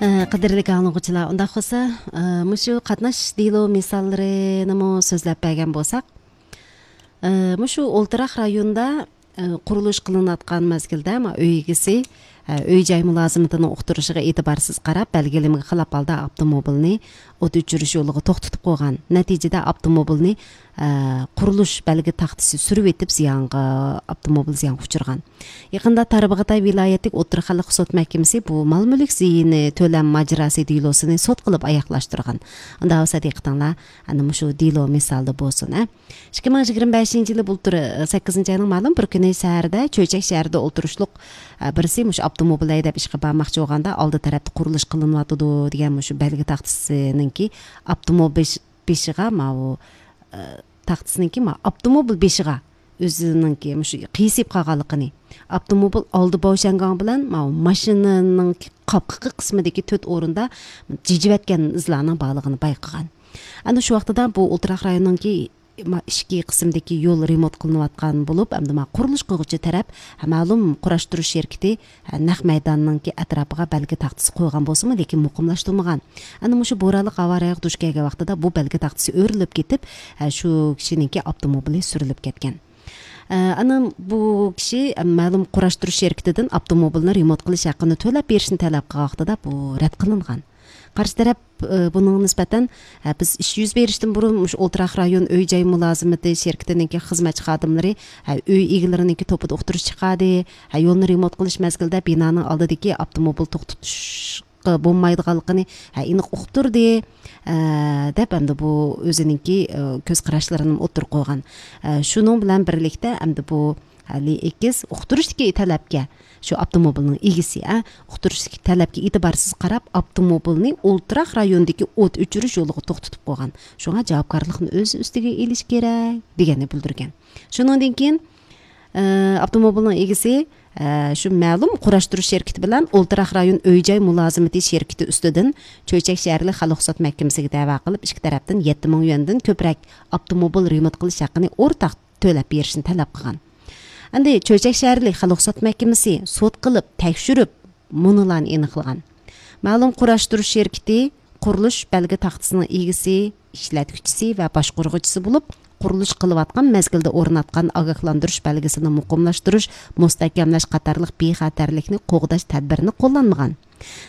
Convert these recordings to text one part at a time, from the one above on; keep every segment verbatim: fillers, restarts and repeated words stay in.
Кадырлык аңлыгуучулар, unda болсо мушу катнаш дейлөө мисалларын сөзлөп берген болсак, мушу Олтурак районунда курулуш кылынып аткан мезгилде үй эгеси үй жай мулазиматынын уктурушуга этибарсыз карап, белгилемеге кылап алды автомобилни от өчүрүш жолуга токтотуп койгон. Натыйжада автомобилни курулуш белги тактысы сүрүп этип зыянга автомобил зыянга учурган. Якында Тарбагытай вилаяттык Отур калык сот махкемеси бу мал мүлк зыйыны төлөм мажырасы дейлоосун сот кылып аяклаштырган. Анда болсо дыктаңлар, аны мушу дейлоо мисалды болсун. эки миң жыйырма бешинчи жылы бултур сегизинчи айдын малым бир күнү шаарда, Чөйчөк шаарда отурушлук бирси мушу автомобил айдап ишке бармакчы болгондо алды тарапта курулуш кылынып атыды деген мушу белги тактысынынки автомобил бешига мабу тактысынынки автомобил бешига өзүнүнки мушу кыйсып калганлыгын, автомобил алды бошонгон менен машинанын капкы кысмындагы төрт орунда жижип аткан изларынын баалыгын байкаган. Аны ушул убактыда бу Олтурак районунун ички кысымдагы жол ремонт кылынып аткан болуп, анда курулуш кылгычы тарап маалым кураштыруу шеркити нак майданынын атрапыга белги тактысы койгон болсуму, лекин мукумлаштырылмаган. Аны мушу бууралык аварияга душ келген убактыда бу белги тактысы өрүлүп кетип, шу кишининки автомобили сүрүлүп кеткен. Анын бу киши маалым кураштыруу шеркитиден автомобилни ремонт кылыш акыны төлөп беришин талап кылган убактыда бу рет кылынган. Каршы тарап бунун нисбатан биз иш жүз бериштен бурун ушу Олтурак район үй жай мулазиматы шеркитининки кызматчы кадымлары үй эгелерининки топуда уктуруш чыгады, жолну ремонт кылыш мезгилде бинанын алдыдагы автомобил токтотушка болмайдыганлыгын эник угуп турду деп эмди бу өзүнүнки көз карашларын отуруп койгон. Шунун менен бирликте эмди бу али экиз уктуруштуки талапка шу автомобилдин эгеси уктуруштуки талапка этибарсыз карап, автомобилни Олтурак районундагы от өчүрүш жолуга токтотуп койгон. Шуга жабапкарлыктын өз үстүгө элиш керек дегени билдирген. Шундан кийин автомобилдин эгеси шу маалым кураштыруу шеркити менен Олтурак район үй жай мулазиматы шеркити үстүдөн Чөйчөк шаарлык калык сот махкемесине дава кылып, ишки тараптан жети миң юандын көбүрөөк автомобил ремонт кылыш акыны ортак төлөп беришин талап кылган. Анда Чөйчөк шаарлык калык сот махкемеси сот кылып, текшүрүп, мунулан эниклган. Маалым кураштыруу шеркити курулуш белги тактысынын эгеси, иштеткичиси ва башкаргычысы болуп, курулуш кылып аткан мезгилде орнаткан агыкландырыш белгисин мукумлаштырыш, мустакамлаш катарлык бейхатерликни когдош тадбирин коллонмаган.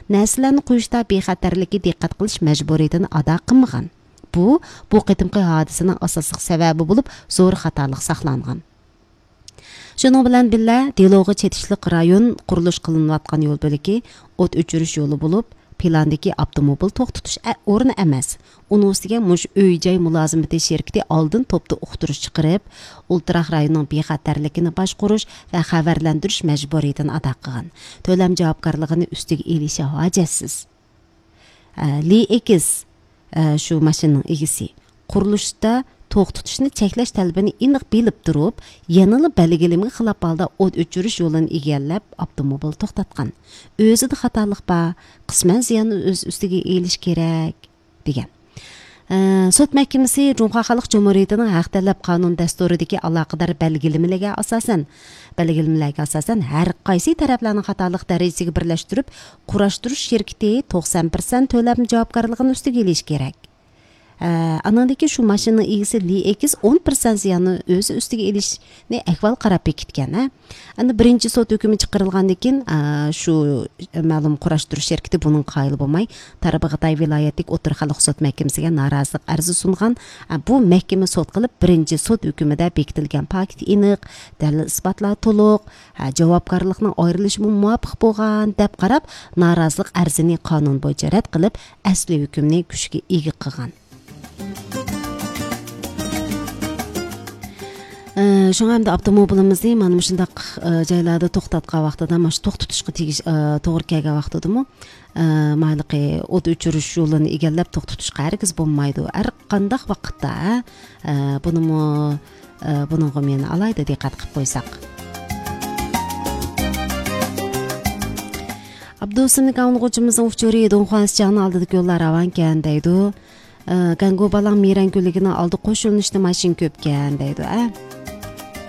Нерселерни куюшта бейхатерликке диккат кылыш мажбуриятын ада кылмаган. Бу бу кытымкы хадисанын асасык себеби болуп, зор катарлык сакланган. Шуның белән биллә Делоого четишлек район курулуш кылынып аткан жол бөлүкү от өчүрүш жолу болуп, пландагы автомобил токтотуш орны эмес. Унун үстүгө муш үй жай мулазиматы шеркити алдын топту уктуруш чыгарып, Олтурак районунун бейхатерлигин башкаруш ва хабарландырыш мажбуриятын ада кылган. Төлөм жабапкарлыгын үстүгө элиши хажатсыз. Ли экиз шу машинанын эгеси курулушта токтотушну чеклеш талабын эник билип туруп, яныла белгилемеге кылап алды от өчүрүш жолун игерлеп автомобил токтоткан. Өзү да хаталык ба, кысман зыяны өз үстүгө элиш керек деген. Сот махкемеси Жумка Калык Жумуриятынын хак талап канун дастуридagi алакадар белгилемелерге асасан, белгилемелерге асасан ар кайсы тараплардын хаталык дарежесиге бирлештирип, кураштырыш шеркити токсон процент төлөм жабапкарлыгын үстүгө элиш керек. Анандагы шу машина эгеси Ли экиз он процент зыяны өз үстүгө элишни аквал карап бекиткен. Аны биринчи сот өкүмү чыгарылгандан кийин шу маалым кураштыруу шеркити бунун кайыл болмай Тарбагытай вилаяттык Отур калык сот махкемесине наразылык арызы сунган. Бу махкеме сот кылып биринчи сот өкүмүдө бекитилген факт эник, далил испатлар толук, жабапкарлыктын айрылышына муафык болгон деп карап, наразылык арызын канун боюнча рад кылып, асли өкүмүн күчкө эге кылган. Шуңа эмди автомобилимизди мана мушундак жайларда токтоткан убактыда, маш токтотушка тийиш туура келген убактыдымы? Майлыкы от өчүрүш жолун игерлеп токтотушка аргыз болмойду. Ар кандай убакытта бунуму бунунга мен алайда диккат кылып койсак. Абдусуник аңлыгуучумуздун учуру Донхуанс жагын алдыдагы жоллор аванкен дейду. Ганго балаң мейрангүлүгүнүн алды кошулунушту машин көпкен дейду.